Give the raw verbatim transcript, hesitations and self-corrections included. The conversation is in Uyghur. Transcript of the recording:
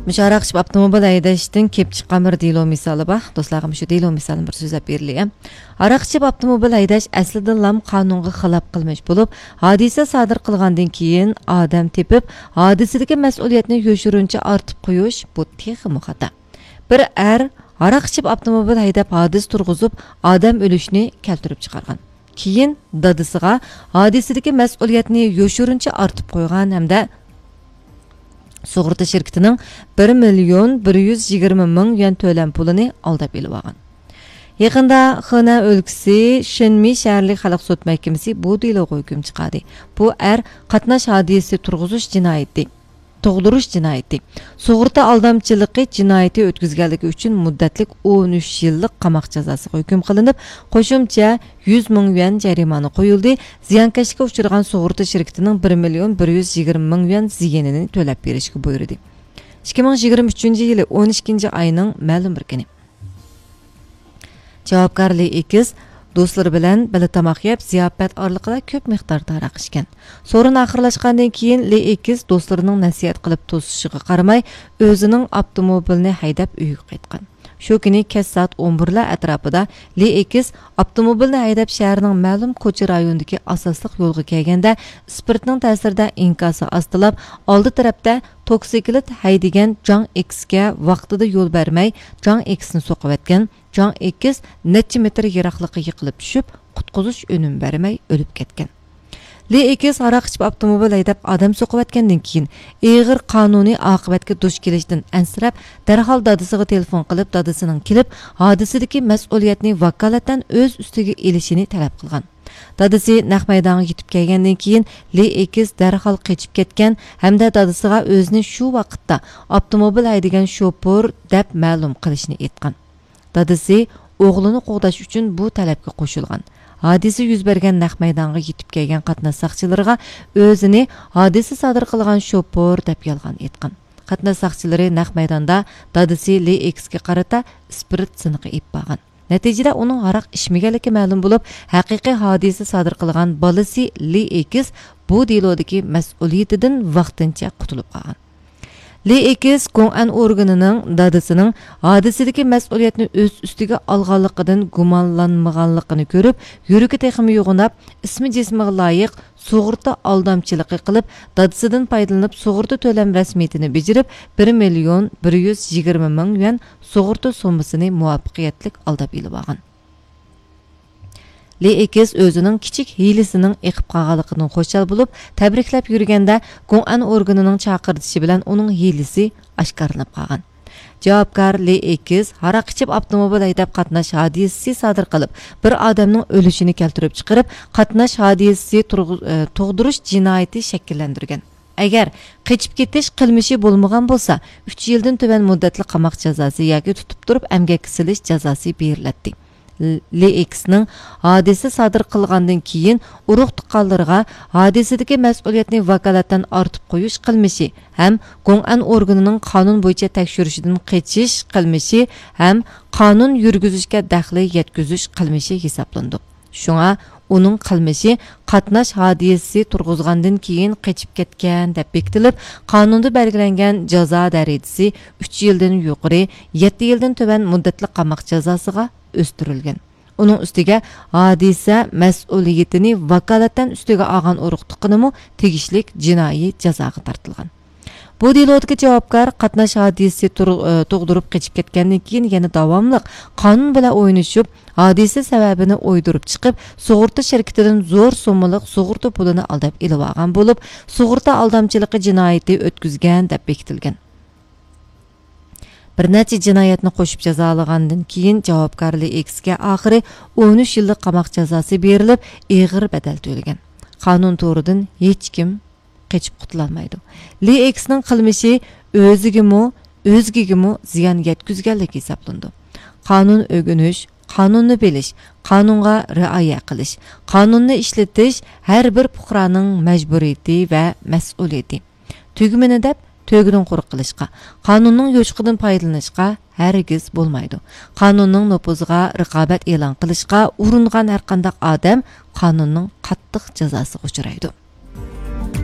مۇشۇ ھاراق ئىچىپ ئاپتوموبىل ھەيدەشتىن كېلىپ چىققان بىر دېلو مىسالى بار. دوستلارغا مۇشۇ دېلو مىسالىنى بىر سۆزلەپ بېرىلى. ھاراق ئىچىپ ئاپتوموبىل ھەيدەش ئەسلىدىنلام قانۇنغا خىلاپ قىلمىش بولۇپ، ھادىسە سادىر قىلغاندىن كېيىن ئادەم تېپىپ، ھادىسىدىكى مەسئۇلىيەتنى يوشۇرۇنچە ئارتىپ قويۇش، بۇ تېخىمۇ خاتا. بىر ئەر ھاراق ئىچىپ ئاپتوموبىل ھەيدەپ ھادىسە تۇرغۇزۇپ، ئادەم ئۆلۈشىنى كەلتۈرۈپ چىقارغان. كېيىن دادىسىغا ھادىسىدىكى مەسئۇلىيەتنى يوشۇرۇنچە ئارتىپ قويغان ھەمدە سۇغۇرتا شىركىتىنىڭ بىر مىليون بىر يۈز يىگىرمە مىڭ يۈەن تۆلەم پۇلىنى ئالداپ ئېلىۋالغان. يېقىندا خېنەن ئۆلكىسى شېنمى شەھەرلىك خەلق سوت مەھكىمىسى بۇ دېلوغا ھۆكۈم چىقاردى. بۇ ئەر قاتناش ھادىسىسى تۇرغۇزۇش جىنايىتى، تۇغدۇرۇش جىنايىتى، سۇغۇرتا ئالدامچىلىقى جىنايىتى ئۆتكۈزگەنلىكى ئۈچۈن مۇددەتلىك ئون ئۈچ يىللىق قاماق جازاسىغا ھۆكۈم قىلىنىپ، قوشۇمچە يۈز مىڭ يۈەن جەرىمانە قويۇلدى، زىيانكەشلىككە ئۇچرىغان سۇغۇرتا شىركىتىنىڭ بىر مىليون بىر يۈز يىگىرمە مىڭ يۈەن زىيىنىنى تۆلەپ بېرىشكە بۇيرۇدى. ئىككى مىڭ يىگىرمە ئۈچىنچى يىلى ئون ئىككىنچى ئاينىڭ مەلۇم بىر كۈنى. جاۋابكار لى ئېكس دوستلىرى بىلەن بىللە تاماق يەپ، زىياپەت ئارىلىقىدا كۆپ مىقداردا ھاراق ئىچكەن. سورۇن ئاخىرلاشقاندىن كېيىن، لى ئېكس دوستلىرىنىڭ نەسىھەت قىلىپ توسۇشىغا قارىماي، ئۆزىنىڭ ئاپتوموبىلىنى ھەيدەپ ئۆيىگە قايتقان. شۇ كۈنى كەچ سائەت ئون بىرلەر ئەتراپىدا لى ئېكس ئاپتوموبىلنى ھەيدەپ، شەھەرنىڭ مەلۇم كوچا رايونىدىكى ئاساسلىق يولغا كەلگەندە، ئىسپىرتنىڭ تەسىرىدە ئىنكاسى ئاستىلاپ، ئالدى تەرەپتە توكسىكلىت ھەيدىگەن جاڭ ئېكسكە ۋاقتىدا يول بەرمەي، جاڭ ئېكسنى سوقۇۋەتكەن. جاڭ ئېكس نەچچە مېتىر يىراقلىققا يىقىلىپ چۈشۈپ، قۇتقۇزۇش ئۈنۈمى بەرمەي ئۆلۈپ كەتكەن. لى ئېكس ھاراق ئىچىپ ئاپتوموبىل ھەيدەپ ئادەم سوقۇۋەتكەندىن كېيىن، ئېغىر قانۇنىي ئاقىۋەتكە دۇچ كېلىشتىن ئەنسىرەپ، دەرھال دادىسىغا تېلېفون قىلىپ، دادىسىنىڭ كېلىپ، ھادىسىدىكى مەسئۇلىيەتنى ۋاكالىتەن ئۆز ئۈستىگە ئېلىشىنى تەلەپ قىلغان. دادىسى نەق مەيدانغا يېتىپ كەلگەندىن كېيىن، لى ئېكس دەرھال قېچىپ كەتكەن ھەمدە دادىسىغا ئۆزىنى شۇ ۋاقىتتا ئاپتوموبىل ھەيدىگەن شوپۇر دەپ مەلۇم قىلىشنى ئېيتقان. دادىسى ئوغلىنى قوغداش ئۈچۈن بۇ تەلەپكە قوشۇلغان. ھادىسە يۈز بەرگەن نەق مەيدانغا يېتىپ كەلگەن قاتناش ساقچىلىرىغا ئۆزىنى ھادىسە سادىر قىلغان شوپۇر دەپ يالغان ئېيتقان. قاتناش ساقچىلىرى نەق مەيداندا دادىسى لى ئېكسكە قارىتا ئىسپىرت سىنىقى ئېلىپ بارغان. نەتىجىدە ئۇنىڭ ھاراق ئىچمىگەنلىكى مەلۇم بولۇپ، ھەقىقىي ھادىسە سادىر قىلغان بالىسى لى ئېكس بۇ دېلودىكى مەسئۇلىيىتىدىن ۋاقتىنچە قۇتۇلۇپ قالغان. لى ئېكس گوڭئەن ئورگىنىنىڭ دادىسىنىڭ ھادىسىدىكى مەسئۇلىيەتنى ئۆز ئۈستىگە ئالغانلىقىدىن گۇمانلانمىغانلىقىنى كۆرۈپ، يۈرىكى تېخىمۇ يوغىناپ، ئىسمى جىسمىغا لايىق سۇغۇرتا ئالدامچىلىقى قىلىپ، دادىسىدىن پايدىلىنىپ، سۇغۇرتا تۆلەم رەسمىيىتىنى بېجىرىپ، بىر مىليون بىر يۈز يىگىرمە مىڭ يۈەن سۇغۇرتا سوممىسىنى مۇۋەپپەقىيەتلىك ئالداپ ئېلىۋالغان. لى ئېكس ئۆزىنىڭ كىچىك ھىيلىسىنىڭ ئېقىپ قالغانلىقىدىن خۇشال بولۇپ، تەبرىكلەپ يۈرگەندە، گوڭئەن ئورگىنىنىڭ چاقىرتىشى بىلەن ئۇنىڭ ھىيلىسى ئاشكارىلىنىپ قالغان. جاۋابكار لى ئېكس ھاراق ئىچىپ ئاپتوموبىل ھەيدەپ قاتناش ھادىسىسى سادىر قىلىپ، بىر ئادەمنىڭ ئۆلۈشىنى كەلتۈرۈپ چىقىرىپ، قاتناش ھادىسىسى تۇرغۇ-، ئە، تۇغدۇرۇش جىنايىتى شەكىللەندۈرگەن. ئەگەر قېچىپ كېتىش قىلمىشى بولمىغان بولسا، ئۈچ يىلدىن تۆۋەن مۇددەتلىك قاماق جازاسى ياكى تۇتۇپ تۇرۇپ ئەمگەككە سېلىش جازاسى بېرىلەتتى. لى ئېكسنىڭ ھادىسە سادىر قىلغاندىن كېيىن ئۇرۇق تۇغقانلىرىغا ھادىسىدىكى مەسئۇلىيەتنى ۋاكالەتەن ئارتىپ قويۇش قىلمىشى ھەم گوڭئەن ئورگىنىنىڭ قانۇن بويىچە تەكشۈرۈشىدىن قېچىش قىلمىشى ھەم قانۇن يۈرگۈزۈشكە دەخلى يەتكۈزۈش قىلمىشى ھېسابلىنىدۇ. شۇڭا ئۇنىڭ قىلمىشى قاتناش ھادىسىسى تۇرغۇزغاندىن كېيىن قېچىپ كەتكەن دەپ بېكىتىلىپ، قانۇندا بەلگىلەنگەن جازا دەرىجىسى ئۈچ يىلدىن يۇقىرى، يەتتە يىلدىن تۆۋەن مۇددەتلىك قاماق جازاسىغا ئۆستۈرۈلگەن. ئۇنىڭ ئۈستىگە ھادىسە مەسئۇلىيىتىنى ۋاكالەتەن ئۈستىگە ئالغان ئۇرۇق تۇغقىنىمۇ تېگىشلىك جىنايى جازاغا تارتىلغان. بۇ دېلودىكى جاۋابكار قاتناش ھادىسىسى تۇر-، ئى، تۇغدۇرۇپ قېچىپ كەتكەندىن كېيىن يەنە داۋاملىق قانۇن بىلەن ئوينىشىپ، ھادىسە سەۋەبىنى ئويدۇرۇپ چىقىپ، سۇغۇرتا شىركىتىدىن زور سوممىلىق سۇغۇرتا پۇلىنى ئالداپ ئېلىۋالغان بولۇپ، سۇغۇرتا ئالدامچىلىقى جىنايىتى ئۆتكۈزگەن دەپ بېكىتىلگەن. بىر نەچچە جىنايەتنى قوشۇپ جازالىغاندىن كېيىن، جاۋابكار لى ئېكسكە ئاخىرى ئون ئۈچ يىللىق قاماق جازاسى بېرىلىپ، ئېغىر بەدەل تۆلىگەن. قانۇن تورىدىن ھېچكىم قېچىپ قۇتۇلالمايدۇ. لى ئېكسنىڭ قىلمىشى ئۆزىگىمۇ، ئۆزگىگىمۇ زىيان يەتكۈزگەنلىك ھېسابلىنىدۇ. قانۇن ئۆگىنىش، قانۇننى بىلىش، قانۇنغا رىئايە قىلىش، قانۇننى ئىشلىتىش ھەر بىر پۇقرانىڭ مەجبۇرىيىتى ۋە مەسئۇلىيىتى. تۈگمىنى دەپ، تۆگىدىن قۇرۇق قىلىشقا، قانۇننىڭ يوچۇقىدىن پايدىلىنىشقا ھەرگىز بولمايدۇ. قانۇننىڭ نوپۇزىغا رىقابەت ئېلان قىلىشقا ئۇرۇنغان ھەرقانداق ئادەم قانۇننىڭ قاتتىق جازاسىغا ئۇچرايدۇ.